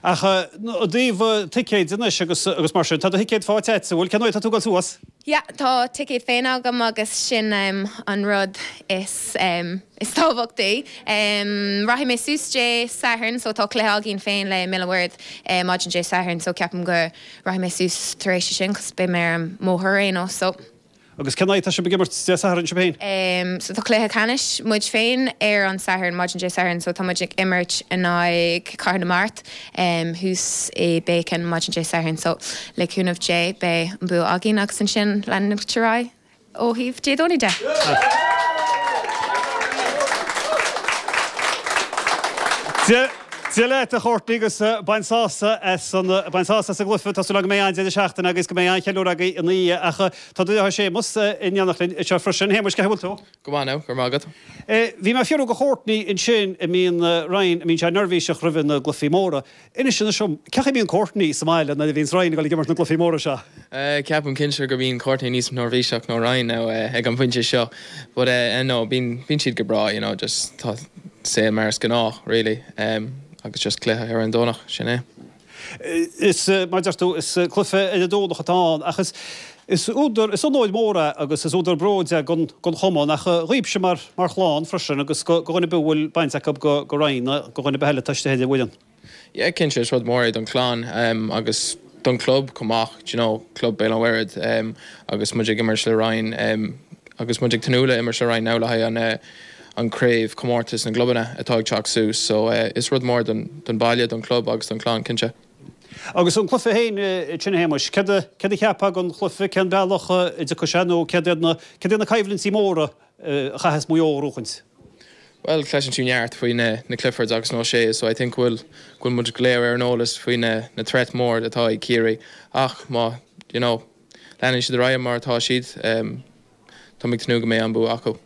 Ach i dtaobh ticéid anois agus agus mar sin, tá do thicéad faighte agat, an bhfuil? Cén uair atá tú ag dul suas? Yeah, tá ticéad féin agam agus sin an rud is is tábhachtaí. Rachaidh mé suas Dé Sathairn so tá cluiche againn féin le Míol an Mhuirthead maidin Dé Sathairn so ceapaim go rachaidh mé suas tar éis sin cos beidh mé ar an mbóthar ar aon nós so. Agus cén aghaidh atá sibh ag imirt Dé Sathairn sibh féin? So tá cluiche ceannais muid féin ar an Satharn, maidin Dé Sathairn, so tá muid ag imirt in aghaidh Cathair na Mart thuas i Beacon maidin Dé Sathairn. So le cúnamh Dé beidh an bua againn agus ansin leanúint ar aghaidh ó thaobh Dé Domhnaigh de. Dia leat a Chourtney agus bain sásamh as an bain sásamh as an gcluiche. Tá súil agam go mbeidh an-deireadh seachtaine agaibh agus go mbeidh an-cheiliúradh agaibh ina dhiaidh ach tá do dheartháir Séamus in éineacht linn anseo freisin. A Shéamuis, cén chaoi a bhfuil tú? Go maith now, go raibh maith agat. Bhí mé ag fiafraí de Chourtney ansin an mbíonn Ryan, an mbíonn sé neirbhíseach roimhe na gcluichí móra. Inis anois dom, cén chaoi a mbíonn Courtney sa mbaile nuair a bhíonns Ryan ag dul ag imirt na gcluichí móra seo? Ceapaim cinnte go mbíonn Courtney níos neirbhíseach ná Ryan now ag an bpointe seo but no bíonn bíonn siad go breá you know just tá saol mar is gnách really agus just cluiche ar an Domhnach, sin é. Is, mar a deir tú, is cluiche ar an Domhnach atá ann ach is is údar, is onóir mór é agus is údar bróid é don don chumann ach dhaoibhse mar mar chlann freisin agus go go dhuine ar bith a bhfuil baint acu go go Ryan nó go dhuine ar bith eile atá istigh ar an bhfoireann. Yeah cinnte is rud mór é don chlann agus don chlub chomh maith, do you know, club Béal an Mhuirthead agus muid ag imirt le Ryan agus muid ag tnúth le imirt le Ryan now le haghaidh an an craobh comórtas na gclubanna atá ag teacht suas so is rud mór don don baile, don chlub agus don chlann cinnte. Agus an cluiche féin sin a Shéamuis, céard a céard a cheapfá don chluiche, cén bealach a dtiocfaidh sé nó céard iad na céard iad na coimhlintí móra a chaithfeas Maigh Eo a ghnóchaint? Bhuel, cloiseann tú neart faoi na na Cliffords agus na O'Sheas so I think go bhfuil go bhfuil muid go léir ar an eolas faoi na na threat mór atá ag Ciarraí ach má you know leanann siad ar aghaidh mar atá siad tá mé ag tnúth go mbeidh an bua acu.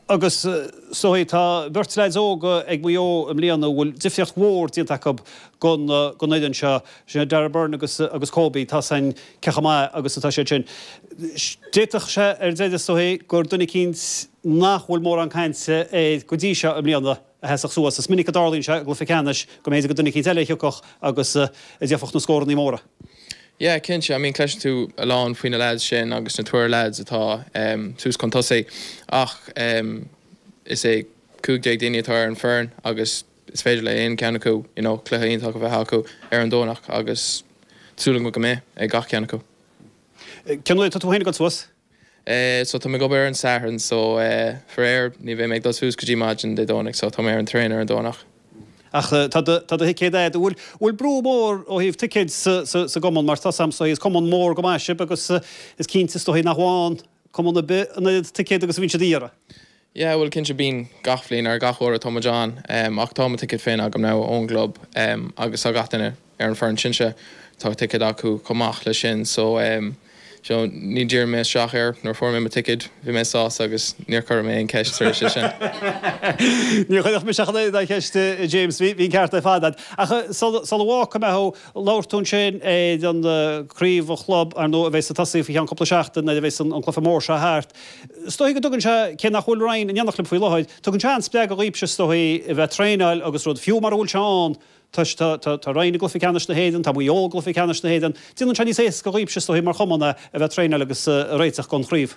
Agus is dóigh tá beirt leaids óga ag Maigh Eo i mbliana a bhfuil difríocht mhór déanta acu don don fhoireann seo, sin Darragh Beirne agus agus Kobe, tá san cé chomh maith agus atá siad sin. D'fhéadfadh sé ar deireadh is dóigh gur duine eicínt nach bhfuil mórán cainte air go dtí seo i mbliana a sheasfadh suas. Is minic a dtarlaíonn sé i gcluiche ceannais go mb'fhéidir gur duine eicínt eile a thiocfadh agus a dhéanfadh na scórannaí móra. Yeah, cinnte. I mean cloiseann tú a lán faoi na lads sin agus na triúr lads atá suas chun tosaigh ach is é 15 daoine atá ar an foireann agus is féidir le aon cheann acu you know cluiche iontach a bheith acu ar an Domhnach agus súil agam go mbeidh ag gach ceann acu. Cén uair atá tú féin ag dul suas? So tá mé ag obair ar an Satharn so faraor ní bheidh mé ag dul suas go dtí maidin Dé Domhnaigh so tá mé ar an traein ar an Domhnach. Ach tá do tá do thicéad a'd. An bhfuil bhfuil brú mór ó thaobh ticéid sa sa sa gcumann mar tá 's a'm is cumann mór go maith sibh agus is cinnte is dóigh nach bhfaigheann cumann ar bith an oiread ticéad agus a bhíonn siad a iarraidh. Yeah bhuel cinnte bíonn gach bhliain ar gach uair atá muid ann ach tá mo ticéad féin agam now ón gclub agus tá gach duine ar an foireann sinsear tá ticéad acu chomh maith leis sin so so ní d'iarr mé isteach air nuair a fuair mé mo ticéad bhí mé sásta agus níor chuir mé aon ceist tar éis sin. Níor chuirfeadh mise ach an oiread ceist James bhí an ceart ar fad agat. Ach sula bhfágfaidh mé thú Labhair tú ansin ar an craobh an chlub ar ndóigh a bheas ag tosaí faoi cheann cúpla seachtain nuair a bheas an cluiche mór seo thart. Is dóigh go dtugann sé, cé nach bhfuil Ryan in éineacht libh faoi láthair, tugann sé an-spreagadh dhaoibhse is dóigh a bheith ag traenáil agus rud, fiú mara bhfuil sé ann, toisc tá tá Ryan i gcluiche ceannais na hÉireann, tá Maigh Eo i gcluiche ceannais na hÉireann. Déanann sé níos éasca dhaoibhse is dóigh mar chumann é a bheith ag traenáil agus ag réiteach don chraobh.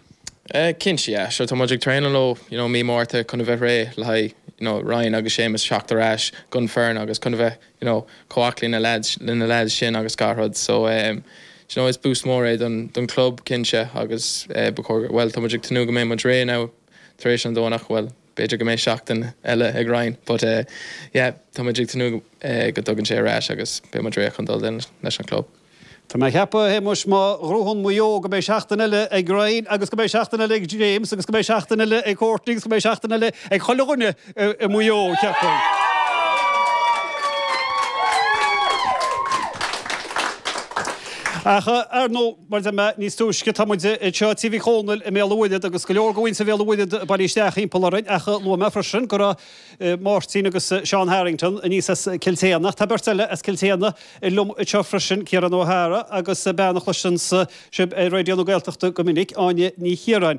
Cinnte, yeah. Sure, tá muid ag traenáil ó, you know, mí Márta chun a bheith réidh le haghaidh, you know, Ryan agus Séamus teacht ar ais don foireann agus chun a bheith, you know, chomh aclaí na lads, le na lads sin agus gach rud. So, em, you know, is boost mór é don, don club, cinnte, agus, eh, ba chóir, bhuel, tá muid ag tnúth go mbeidh muid réidh now tar éis an Domhnach, bhuel, b'fhéidir go mbeidh seachtain eile ag Ryan, but, eh, yeah, tá muid ag tnúth, eh, go dtagann sé ar ais agus beidh muid réidh chun dul leis an club. Tá mé ag ceapadh, a Shéamuis, má ghnóthaíonn Maigh Eo go mbeidh seachtain eile ag Ryan agus go mbeidh seachtain eile ag James agus go mbeidh seachtain eile ag Courtney agus go mbeidh seachtain eile ag chuile dhuine i Maigh Eo, cheapfainn. Ach, ar ndóigh, mar a deir mé níos túisce, tá muid anseo i Tí Mhic Dhónaill i mBéal an Mhuirthead agus go leor de mhuintir Bhéal an Mhuirthead bailithe isteach thimpeall orainn ach luaigh mé freisin go raibh Máirtín agus Seán Harrington aníos as Cill tSéadhna. Tá beirt eile as Cill tSéadhna liom anseo freisin, Ciarán Ó hEára agus bean a chloiseanns sibh ar Raidió na Gaeltachta go minic, Áine Ní Chiaráin.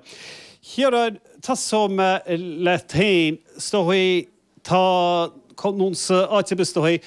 Chiaráin, tosóidh mé leat féin. Is dóigh, tá, nó áit ar bith is dóigh.